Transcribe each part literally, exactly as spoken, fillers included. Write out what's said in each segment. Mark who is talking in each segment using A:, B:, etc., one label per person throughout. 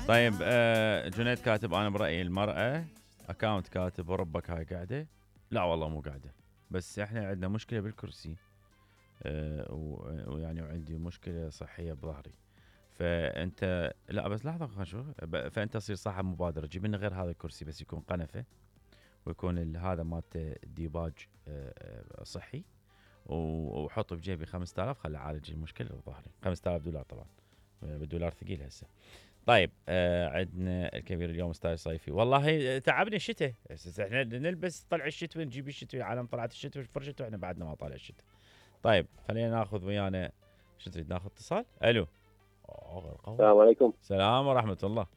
A: طيب آه جنيد كاتب انا برايي المراه. اكاونت كاتب وربك هاي قاعده. لا والله مو قاعده، بس احنا عندنا مشكله بالكرسي. آه ويعني وعندي مشكله صحيه بظهري. فانت لا بس لحظه خلينا نشوف. فانت تصير صاحب مبادره، جيب لنا غير هذا الكرسي بس يكون قنفه، ويكون هذا مالته ديباج آه صحي، وحط بجيبي خمسة آلاف خلي اعالج المشكله بظهري. خمسة آلاف دولار طبعا، بالدولار ثقيل هسه. طيب آه عندنا الكبير اليوم استاذ صيفي. والله تعبني الشتاء، احنا نلبس طلع الشتوي نجيب الشتوي، العالم طلعت الشتوي فرشته واحنا بعدنا ما طالع الشتاء. طيب خلينا ناخذ ويانا، شو تريد ناخذ اتصال؟ الو.
B: السلام عليكم.
A: السلام ورحمه الله.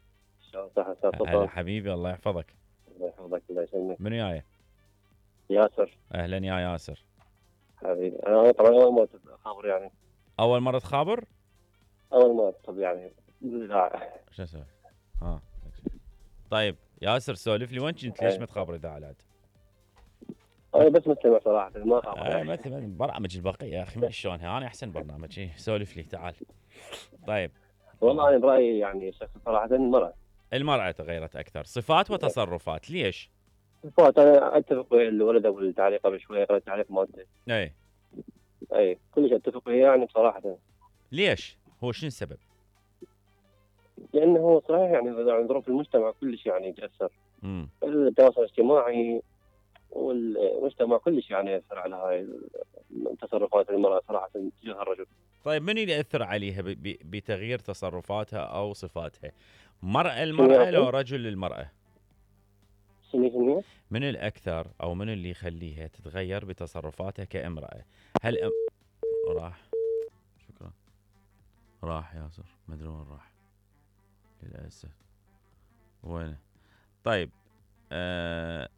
B: شلون صحة استاذ
A: هلا حبيبي الله يحفظك.
B: الله يحفظك الله يسلمك.
A: منو جاي؟
B: ياسر.
A: اهلا يا ياسر.
B: حبيبي انا طبعا اول مرة خابر يعني.
A: اول مرة تخابر؟
B: اول مرة طب يعني لا.
A: شو اسوي؟ ها طيب ياسر سولف لي وين كنت؟ ليش ما تخابر اذاعات؟
B: انا بس مستمع صراحة ما خابر.
A: آه مثل برامج البقية يا اخي ما شلونها، انا احسن برنامج. ايه سولف لي تعال. طيب
B: والله انا برايي يعني شخص صراحة المرأة.
A: المرأة تغيرت اكثر صفات وتصرفات، ليش؟
B: صفات انا اتفق ويا الولد ابو التعليق قبل شوي، قرأت التعليق مالته.
A: اي
B: اي كلش اتفق وياه يعني بصراحة.
A: ليش؟ هو شنو السبب؟
B: لانه هو صحيح يعني ظروف المجتمع كلش يعني يتاثر.
A: امم
B: التواصل الاجتماعي والمجتمع كلش يعني ياثر على هاي تصرفات المرأة صراحة تجاه الرجل.
A: طيب من اللي ياثر عليها بتغيير تصرفاتها او صفاتها؟ مرأة المرأة لو رجل المرأة؟
B: شنو
A: من الأكثر أو من اللي يخليها تتغير بتصرفاتها كامرأة؟ هل أم... راح شكرا راح ياسر ما أدري وين راح للأسف. وين؟ طيب آه...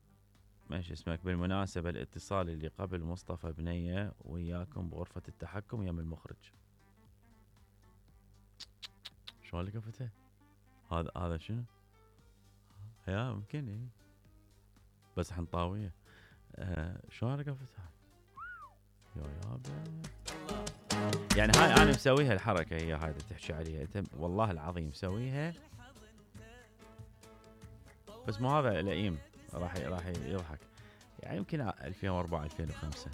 A: ماشي اسمك. بالمناسبة الاتصال اللي قبل مصطفى بنية وياكم بغرفة التحكم يم المخرج. شو اللي قفته؟ هذا هذا شنو؟ يا ممكن ايه بس حنطاوية. آه شو هذا قفتها؟ يا يابا يعني هاي انا مسويها الحركه هي هاي اللي تحكي عليها انت، والله العظيم مسويها بس مو هذا لئيم راح راح يضحك يعني. يمكن ألفين وأربعة ألفين وخمسة